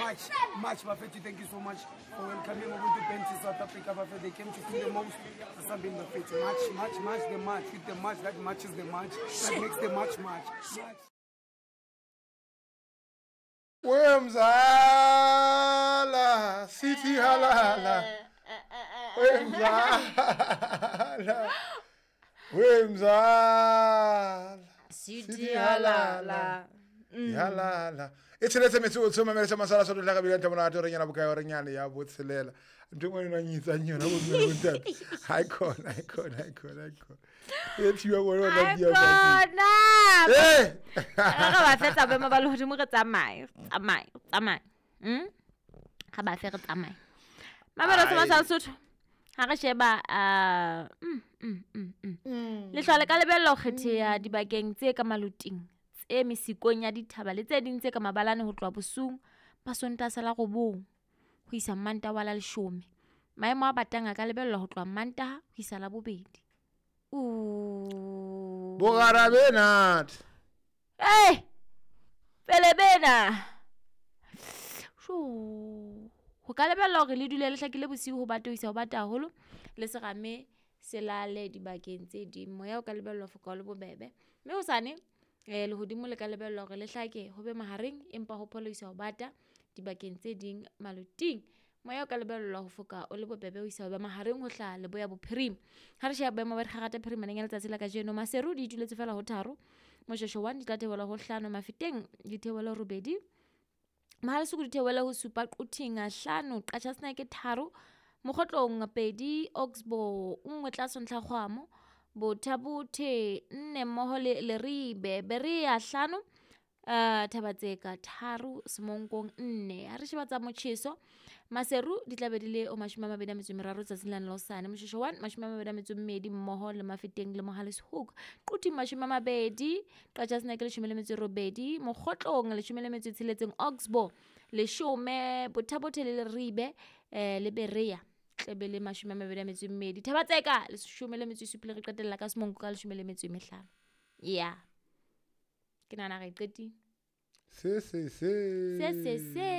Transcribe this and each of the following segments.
March, March, Bafethu, thank you so much for welcoming Ubuntu Band to South Africa. Bafethu, they came to feel the most. Something Bafethu. March, March, March, the march, with the march that matches the march, that makes the march, march. March. Wemzala, sithi halala. Wemzala. Wemzala. Sithi halala. Halala. E tsheletse metsotso mamela sa masala sa tla ka bila ntamona re nyana bokae re nyane ya botshelela. Ntho engwe yona nyitsang yona bo mme bontate. Ha ikhona, ikhona, ikhona, ikhona. E thiwa bona ona dia ba. Kona. Eh! Re ba fetsa boemo ba lehodimo re tsamaye, tsamaye, tsamaye. Ga ba fe re tsamaye. Mamela sa masala Sotho. Ha re sheba lehlwa le ka lebella ho kgetheha dibakeng tse ka maloting, tse mesikong ya dithaba le tse ding tse ka mabalane ho tloha bosiung ba Sontaha sa la 9 ho isa Mantaha wa la 10. Maemo a batang a ka lebellwa ho tloha Mantaha ho isa Labobedi. Bogara bena. Eh! Pele bena. Sho. Ho ka lebellwa hore le dule le hlakile bosiu ho bata ho isa ho bata haholo le serame se lale dibakeng tse ding. Moya o ka lebellwa ho foka o le bobebe. Mme hosane lehodimo le ka lebellwa hore le hlake ho be mahareng empa ho pholo isa ho bata dibakeng tse ding maloting. Moya o ka lebellwa ho foka o le bobebe ho isa ho ba mahareng ho hlaha leboya bophirima. Ha re sheba boemo ba dikgakgata phirimaneng ya letsatsi la kajeno, Maseru di ituletse fela ho 3, Moshweshwe 1 di tla theohela ho 5, Mafeteng di theohele ho 8, Mahalesuku di theohele ho 7, Quthing 5, Qacha's Nek 3, Mokgotlong 2, Oxbow 1 tlase ntlha kgwamo, Botha-Bothe 4 mmoho le Leribe, Berea 5, Thabatseka 3, Semonkong 4. Ha re sheba tsa motjheso, Maseru di tla be di le o 23 tsatsing la hosane, Moshweshwe 1 22 mmoho le Mafeteng le Mohale's Hoek, Quthing 20, Qacha's Nek 18, Mokgotlong 16, Oxbow 10, Botha-Bothe le Leribe le Berea tlebe le 22, Thabatseka 17 re qetella ka Semonko ka 15. Yeah. Ke nahana re qetile. Se se se. Se se se.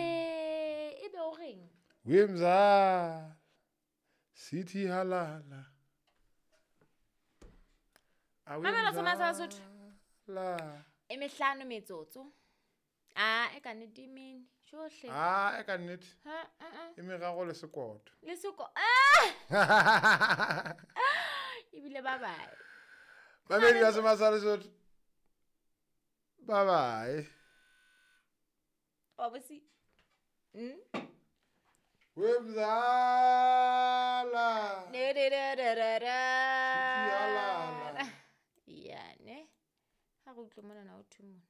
E be o reng? Wemza. Sithi halala. Mamela sa masala Sotho. La. E mehlano metsotso. Ah, e ka nnete e mene. Tjohle. Ah, e ka nnete. Ha, a. E meraro le sekoto. Le seko. Ah! Ebile bye bye. Mamedi ba Masala Sotho. Bye bye. Wa bosi. Wemzala. Ne ne ne ne ne ne. Sithi halala. Ya ne. Ha re utlwe mona na o thwe mona.